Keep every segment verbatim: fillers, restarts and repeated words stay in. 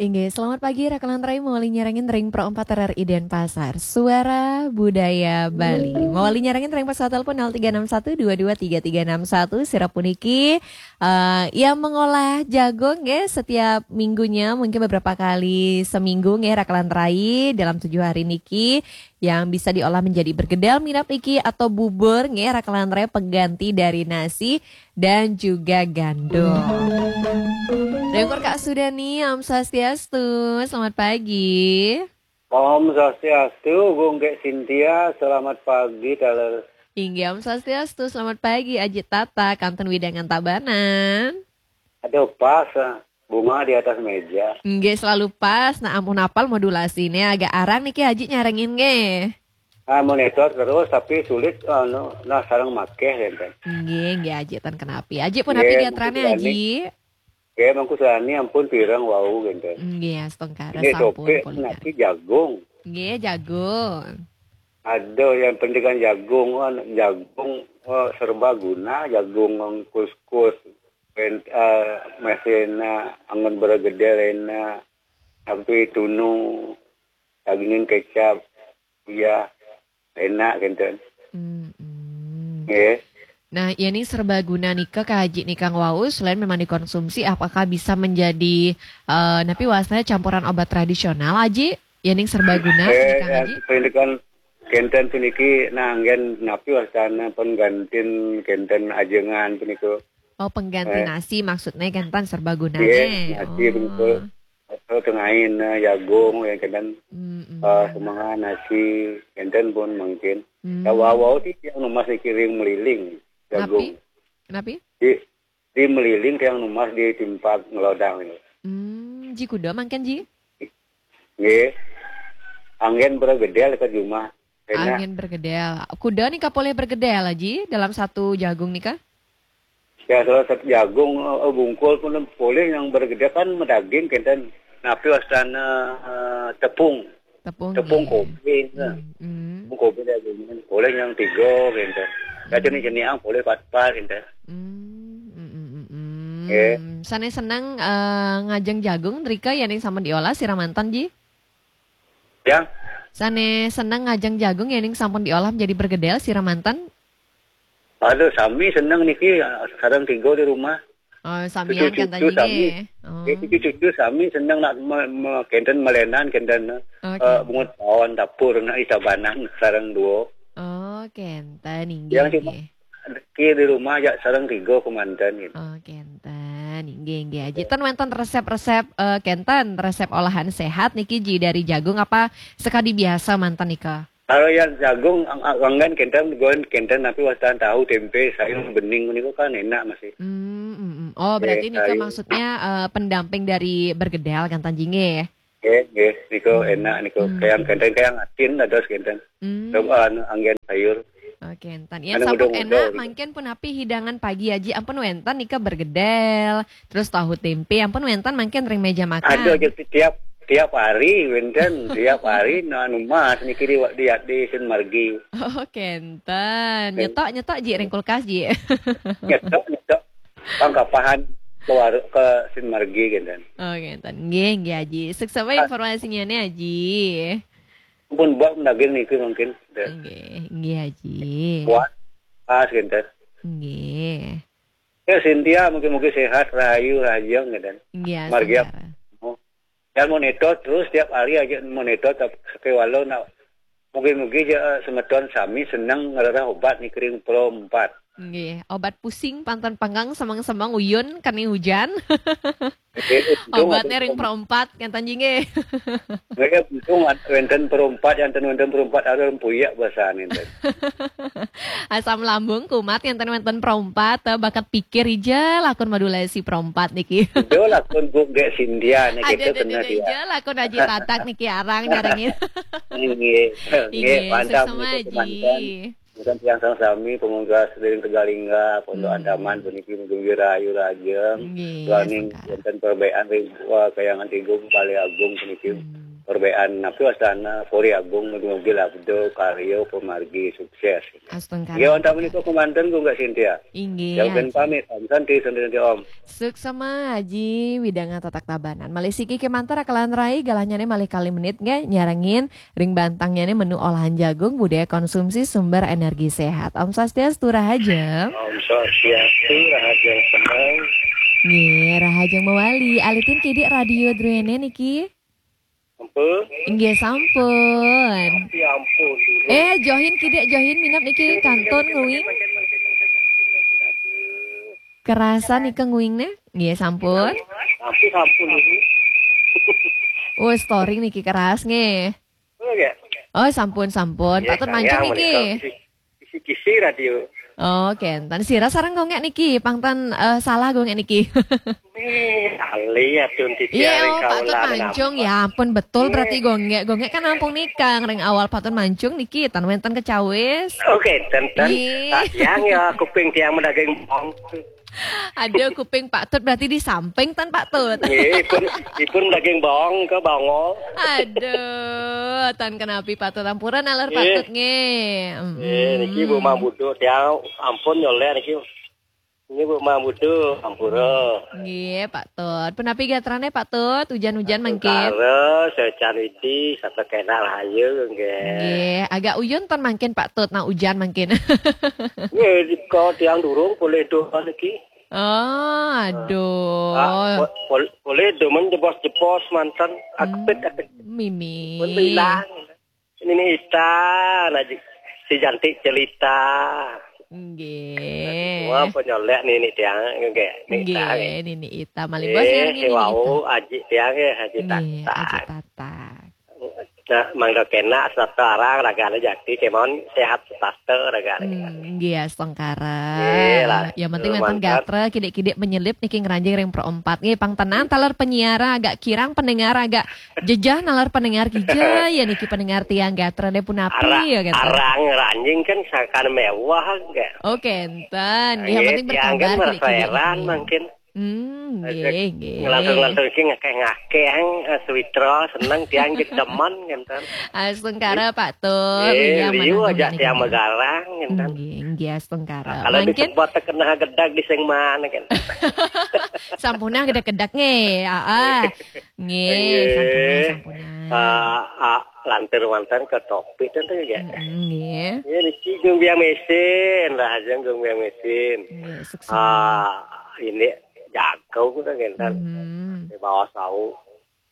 Inggih, selamat pagi, Raka lan Rai, mawali nyarengin ring Pro empat R R I Denpasar. Suara Budaya Bali. Mawali nyarengin ring pesawat telepon nol tiga enam satu dua dua tiga tiga enam satu. Sira puniki, eh, yang mengolah jagung, nggih, setiap minggunya, mungkin beberapa kali seminggu, nggih, Raka lan Rai, dalam tujuh hari niki, yang bisa diolah menjadi bergedel, minab niki, atau bubur, nggih, Raka lan Rai, pengganti dari nasi dan juga gandum. Dengkur Kak Sudani, Om Swastiastu, selamat pagi. Om Swastiastu, Gung Kek Sintia, selamat pagi, taler. Inggih, Om Swastiastu, selamat pagi, Aji Tata, kantun wewidangan Tabanan. Aduh, pas, ah. Bunga di atas meja. Nggih, selalu pas. Nah, ampun apal modulasinya agak arang niki Aji nyarengin nggih. Ah, monitor terus, tapi sulit, anu, nah, sareng makeh, gitu. Nggih, nggih, Aji, ten kenapi. Aji pun Nggih, api gatrane, mungkin Aji. Nggih, mangku sani ampun pirang wau, gitu. Nggih, astungkara Nggih, sampun topik pun. Nasi jagung. Nggih, jagung. Aduh, yang penting kan jagung, kan jagung, eh, serbaguna, jagung, kuskus, pen-, eh, mesena, anggon bergedel ena, tapi tunu, dagingin kecap, ya, enak, gitu. Mm-mm. Nggih. Nah, yening serbaguna nika, Kak Haji, nika wau, selain memang dikonsumsi, apakah bisa menjadi, eh, napi wasana campuran obat tradisional, Aji? Yening serbaguna, Eh, nika, ya, Haji? Pendidikan kenten puniki, nah, anggen napi wasana penggantin kenten ajengan punika. Oh, pengganti Eh. Nasi maksudnya, kenten serbaguna Iya, nih. Nasi Oh. Betul. Atau tengahin, eh, jagung, ya, kenten, Mm-mm. Eh, semangat nasi, kenten pun mungkin. Mm. Ya, wau-wau ti yang numas dikiring meliling, jagung. Napi? Napi? Di, di meliling tiang numas di timpak ngelodang ini. Hmm, ji kuda mangken, Ji? Nggih. Anggen bergedel ke jumah. Enak. Anggen bergedel. Kuda nika polih bergedel, Ji, dalam satu jagung nika? Ya, salah satu jagung, eh, bungkul pun polih yang bergedel kan medaging kenten. Napi wastana, eh, tepung. Tepung, Tepung nggih. Kopi, nah. Hmm, hmm. Tepung kopi dah, gini. Polih yang tiga, gitu. Ya, Hmm. jenis-jenis yang polih pat-pat, gitu. Hmm, hmm, hmm, hmm, hmm. Nggih. Sane seneng, eh, ngajeng jagung, drika yening sampun diolah, sira manten, Ji? Ya. Sane seneng ngajeng jagung, yening sampun diolah menjadi bergedel, sira manten? Aduh, sami seneng niki, sareng tiga di rumah. Oh, samian Cucu-cucu kenten sami. Nggih. Oh. Eh, cucu-cucu sami seneng nak me-, me-, kenten melenan, kenten, Oke. Eh, bungut pawon dapur, nak isabanan sareng dua. Oh, kenten, inggih, Yang cuma inggih. Ki di rumah aja sareng tiga kemanten gitu. Oh, kenten, inggih, inggih, Aji. Ten wenten resep-resep, eh, kenten, resep olahan sehat niki, Ji, dari jagung apa sekadi biasa manten nika? Kalau yang jagung, ang-, ang-, anggen kenten, gon kenten, tapi wastan tahu, tempe, sayur, bening, niku kan enak masih. Hmm, hmm, hmm. Oh, berarti Eh, nika sayur. Maksudnya, eh, pendamping dari bergedel, kenten, Ji, nggih? Nggih, nggih, niku Hmm. enak, niku. Hmm. Kayak kenten, kayak asin, dados kenten. Hmm. Coba, anu, anggen sayur. Oh, kenten. Ya, anu, sampun mudah-mudah enak, gitu. Mangkin punapi hidangan pagi, Aji, ampun wenten nika bergedel, terus tahu tempe, ampun wenten mangkin ring meja makan. Ada aja tiap, tiap hari, wenten, tiap hari, nah, anu mas, niki di, di, di Sin Margi. Oh, kenten. Nyetok, nyetok, Ji, ring kulkas, Ji. Nyetok, nyetok. Pangkapahan ke waru-, ke Sin Margi, kenten. Oh, kenten. Nggih, nggih, Aji. Suksma Ah. Informasinya nih, Aji. Pun buat daging niki mungkin. Nggih, nggih, Aji. Kuat, pas, gitu. Nggih. Ya, Sintia, mungkin-mungkin sehat, rahayu, rahajeng, gitu. Nggih, Margi sehat. Ya, monitor terus tiap hari aja monitor, tapi sekewalo nak, mungkin-mungkin ya, semeton sami seneng ngerereh obat nih, kering Pro empat. Nggih, obat pusing pantan panggang semeng-semeng uyun kani hujan. Oke, untung Obatnya ada ring Pro empat, kenten, Ji, nggih. Nggih, untung ada wenten Pro empat, yang ten wenten Pro empat ada rempuyak bahasanya, ten. Asam lambung kumat, yang ten wenten Pro empat, eh, bakat pikir ija lakon modulasi Pro empat niki. Itu lakon Bu Gek Sindia, nih, ada, kita ada, kena ada, dia. Ija lakon Aji Tatak niki arang nyarengin. Nggih, nggih, Nggih, mantap, suksma, nggih, Ji. Mantan. Bukan tiang sang sami, pemungkas Dering Tegalingga, Pondok Hmm. Andaman, puniki mungkin rahayu rahajeng. Nggih, Wani sengsara. Wonten perbekan ring, wah, Kayangan Tigung, Balai Agung, puniki. Hmm. Perbéan napi wastana, puri agung, mugi-mugi labda karya pamargi sukses. Astungkara. Ya, wonten menika kemanten, Gung Kak Sintia. Inggih. Ya, mungkin pamit, Om Santi, Santi, Santi, Om. Suksema Haji, widang tatak Tabanan. Malih siki kemanten rakelan rai, galahnyane malih kalih menit nggih, nyarengin ring bantangnyane menu olahan jagung, budaya konsumsi sumber energi sehat. Om Swastiastu, rahajeng. Om Swastiastu, rahajeng semeng. Nggih, rahajeng mawali. Alitin kidik radio druene niki. Ampun. Inggih sampun. Ya ampun. Eh, johin kidik, johin minab niki kantun nguing. Kerasa nika nguing ne? Nggih sampun. Ampun, ampun ini. Oh, storing niki keras nggih. Oh, ya. Oh, sampun, sampun. Nggih, patut mancung niki. Kisi-kisi radio. Oh, kenten. Sira sareng gongek niki, pangten, eh, salah gongek niki. Eh, alih ya, Tun, titiang. Iya, oh, patut mancung. Ya ampun, betul berarti gongek. Gongek kan nampung nika, ring awal patut mancung niki, tan wenten kecawis. Oke, ten, ten. Iya. Tiang ya, kuping tiang medaging bong. Ada kuping patut berarti di samping tan patut. Nggih, ipun, ipun daging bawang ke bangol. Aduh, tan kenapi patut, ampuran aler patut nggih. Nggih, niki Bu Mang Budu, tiang ampun nyolek niki. Ini Bu Mang Budu, ampura. Nggih, patut. Punapi gatrane patut, hujan-hujan mangkin? Kara, secan widi, satu kena rahayu nggih. Nggih, agak uyun tan mangkin patut, nah hujan mangkin. Nggih, kok tiang durung boleh doa niki. Oh, aduh. Ah, po-, pol-, polih demen jebos-jebos manten, akepit, akepit. Mimi. Pun bilang. Ini nih Ita, nah, si cantik celita. Nggih. Wah, penyolek nih, nih tiang, nggih, nih Ita, nggih. Nggih, nini Ita. Malih bos ya, nini Ita. Wau, aji tiang, ya, aji Tata. Aji Tata. Nah, mangga kena, serta arang, ragane jati, kemon, sehat, sesasta, ragane. Hmm, nggih, astungkara. Nggih, lah. Yang penting wenten gatra, kidik-kidik menyelip niki ngranjing ring perempat. Nggih, pang tenang, taler penyiar agak kirang, pendengar agak jejeh, naler pendengar kija, ya niki pendengar tiang gatra deh punapi, ya gatra. Arang ranjing kan sakan mewah, nggih. Oh, kenten. Yang penting tiang kan berkabar, merasa kidik-kidik heran, nggih. Mungkin. Hmm, nggih, nggih. Ngelantur-ngelantur iki ngakeh-ngakeh, eh, sewitra, seneng tiang gedemen, ngenten. Astungkara, Pak Tut. Nggih, ya, liu aja tiang megarang, ngenten. Nggih, nggih, astungkara. Kalau mungkin disebut kena gedag di sing mana, kan? Sampunah gedag-gedag, nggih. Ah, ah. Nggih, nggih. Sampunah, sampunah. Ah, ah, lantur wonten ke topik tentu ya. Mm-mm, nggih. Nggih, niki Gung Biang Mesin, lah aja Gung Biang Mesin. Nggih, suksma. Ah, ini jago kita ngenten. Mhm. Di bawah sau.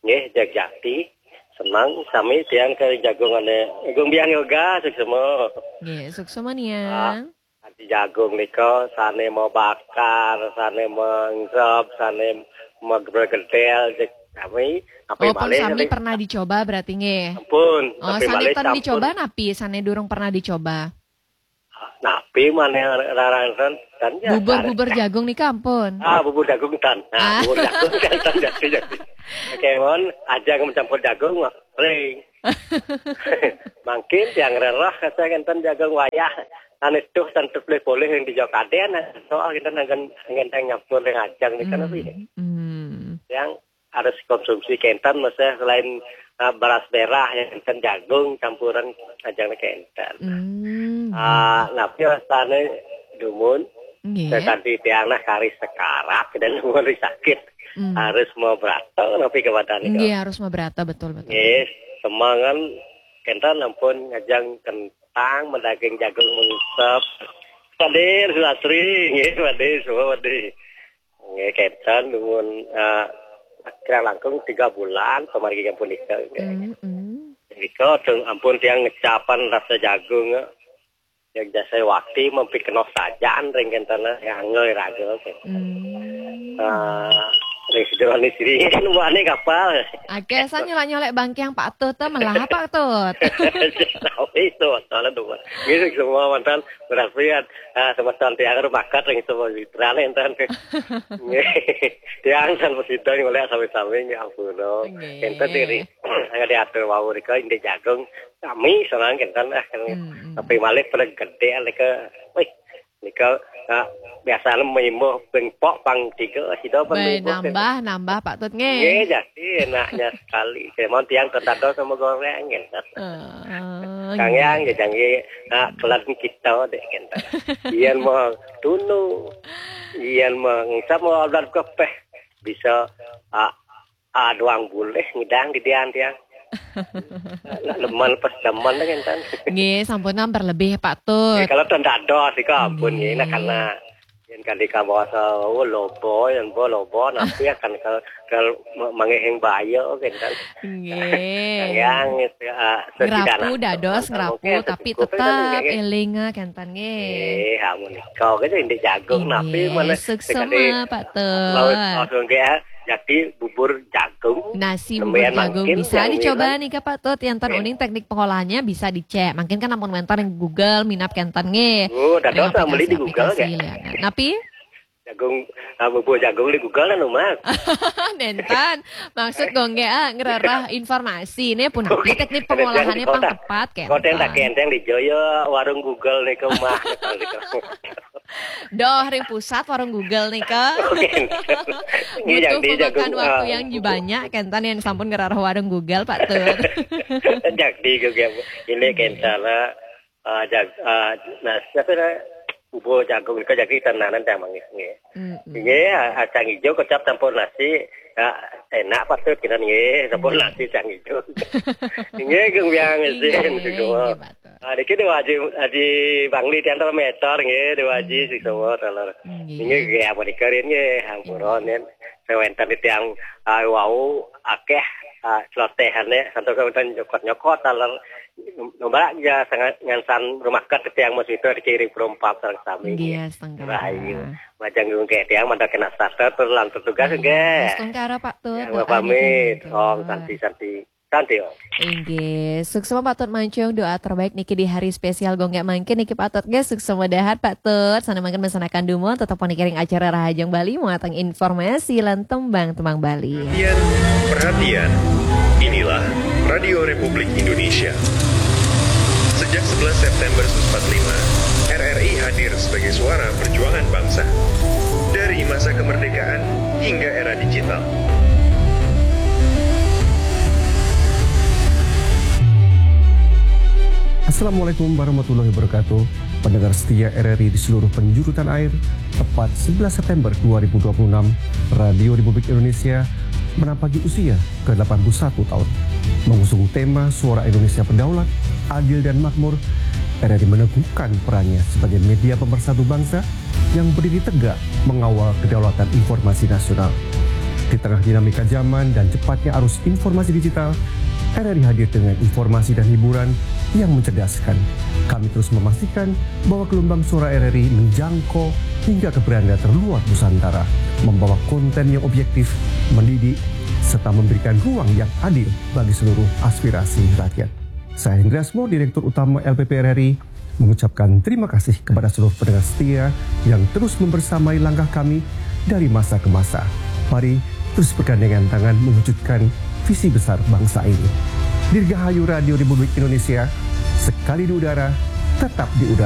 Nggih, jag jati. Senang sami tiang ke jagungane Gung Biang Yoga, suksma. Nggih, suksma niang. Ah, ati jagung nika sane mau bakar, sane mengsep, sane mau gedel, jeg kami, api. Oh, pun malih sami sami pernah dicoba berarti nggih? Ampun, oh, tapi sane malih tan campur. Dicoba napi, sane durung pernah dicoba? Napi maneh rarang tan, tan ya, bubur, bubur jagung nika ampun. Ah, bubur jagung tan. Nah, ah. Bubur jagung tan, tan, jati, jati. Kemon, aja mencampur jagung, mah, ring. Mangkin tiang rerah, kata ngenten jagung wayah. Ane tuh, tan tuh boleh, boleh yang dijok aden, soal kita nangan ngenteng nyampur dengan ajang nih, kan, hmm, apa ini? Hmm. Yang harus konsumsi kenten, maksudnya selain, uh, beras merah, ya, kenten jagung, campuran ajang kenten. Hmm. Ah, napi wastane dumun, nggih. Tadi tiang nah kari sekarat, dan mulai sakit. Hmm. Harus mau berato, napi kepada nih, nggih, harus mau berato, betul, betul. Nggih, semangan kenten ampun ngajang kentang, medaging jagung mengsep. Padir, Sulastri, nggih, padir, semua padir. Nggih, kenten, dumun, eh, kira langkung tiga bulan, pamargi ampun nika, nggih. Mm, mm. Nika, dong ampun tiang ngecapan rasa jagung, eh. Yang jasa wakti, mampi kena sajan, ring kenten, eh, yang ngai raga, nggih. Mm. Eh, ring sejero ni siri, kan, buahne kapal. Akeh, sa nyolek-nyolek bangkiang Pak Tut, ta, melah Pak Tut. Tahu itu, masalah dua. Nggih, semua mantan, berarti, eh, semua tiang rumakat, ring semua mitrane, enten. Nggih. Tiang tan prasida nyolek sami-sami, ya ampun, no. Nggih. Enten diri. Angkat diatur wau rika indik jagung. Kami senang kenten, ah, kan. Hmm, hmm. Tapi malih pada gede, leka. Wih. Nika, nah, biasane mimbuh ping pok pang tiga, sida pun Bae mimbuh ping nambah, nambah, Pak Tut, nggih. Nggih, jadi enaknya sekali. Saya mau tiang ten dados sama goreng, gitu. Ah, Kang nggih. Yang, ya, jangan, nah, kelan kita dek, gitu. Yen mau tunu, yen mau ngisap mau alat kepeh, bisa, ah, ah, doang boleh ngidang di dian tiang. Nak leman pas demen, kan, kan. Nggih, sampun ampun lebih, Pak Tut. Nggih, kalau ten dados, ika ampun, nggih, nak Nggih. karena yen kali ka basa, oh, lobo, yen bo lobo, napi akan ke, ke ma-, mangehing baya, kan, kan. Nggih. Kang Yang, itu, ah, Ngerapu sesederhana dados, mungkin ngerapu, tapi secukup, tetap kan, nggih. eling, ah, kenten, nggih. Nggih, amun nika, gitu, indik jagung, napi Nggih, mana suksma, sekali Pak Tut. laut, laut, nggih, ah, jadi bubur jagung. Nasi bubur Nembean jagung mangkin bisa tiang dicoba mireng. nika, Pak Tut. Enten Nggih. uning teknik pengolahannya bisa dicek. Mungkin kan ampun wenten ring Google, minab kenten nggih. Oh, dados Ring nak beli di Google, aplikasi-aplikasi nggih? lianan. Napi? Jagung, ah, bubur jagung di Google kan, Mas? Nenten. Maksud gue nggih, ah, ngrereh informasi. Ini pun napi Oke. teknik Ada pengolahannya yang pang kota. tepat, Kota yang tak kenten. kenteng di Joyo, warung Google nih ke rumah. Doh, ring pusat warung Google nika. Oke. Ini Butuh yang di memakan jagung, waktu ah, yang bubur. banyak, kenten yang sampun ngrereh warung Google, Pak Tut. Jadi juga ini Hmm. kenten lah. Ah, jag-, ah, nah, siapa lah? Bubur jagung nika jadi tenanan dah mangis nggih. Mm-mm. Nggih, ah, ah, cang ijo kecap campur nasi. Ah, enak Pak Tut kenten nggih, campur Hmm. nasi cang ijo. Nggih, Kang Yang Nggih, izin, nggih, semua. nggih, Pak Tut. Ah, niki Dewa Haji, Haji Bangli tiang tolong meter nggih, Dewa Haji Hmm. sing semua tolong. Nggih. Nggih, nggih, apa dikarin nggih, hampura Nggih. nen. Sewenten tiang, ah, wau akeh, ah, celotehane, santos wenten nyokot-nyokot, taler nombak ya sangat ngansan rumah kat tiang mas itu di kiri perompak sareng sami. Nggih, astungkara. Rahayu. Majeng nggih tiang mandak kena starter, terus lantur tugas, Nggih, nggih. astungkara, Pak Tut. Ya, Doa pamit. niki, Om, Pak. santi, santi. Santi, Om. Inggih, suksma Pak Tut Mancung, doa terbaik niki di hari spesial gonggek mangkin niki Pak Tut, nggih, suksma dahat Pak Tut. Sana mangkin mesanakan dumun, tetep pun kiring acara Rahajeng Bali, muatang informasi lan tembang-tembang Bali. Perhatian, perhatian. Inilah Radio Republik Indonesia. Sejak sebelas September seribu sembilan ratus empat puluh lima, R R I hadir sebagai suara perjuangan bangsa. Dari masa kemerdekaan hingga era digital. Assalamualaikum warahmatullahi wabarakatuh. Pendengar setia R R I di seluruh penjuru tanah air, tepat sebelas September dua ribu dua puluh enam, Radio Republik Indonesia menampaki usia ke delapan puluh satu tahun. Mengusung tema Suara Indonesia Berdaulat, Adil dan Makmur, R R I meneguhkan perannya sebagai media pemersatu bangsa yang berdiri tegak mengawal kedaulatan informasi nasional. Di tengah dinamika zaman dan cepatnya arus informasi digital, R R I hadir dengan informasi dan hiburan yang mencerdaskan. Kami terus memastikan bahwa gelombang suara R R I menjangkau hingga ke beranda terluar Nusantara, membawa konten yang objektif, mendidik, serta memberikan ruang yang adil bagi seluruh aspirasi rakyat. Saya Hendra Asmor, Direktur Utama L P P R R I, mengucapkan terima kasih kepada seluruh pendengar setia yang terus membersamai langkah kami dari masa ke masa. Mari terus bergandengan tangan mewujudkan visi besar bangsa ini. Dirgahayu Radio Republik Indonesia, sekali di udara, tetap di udara.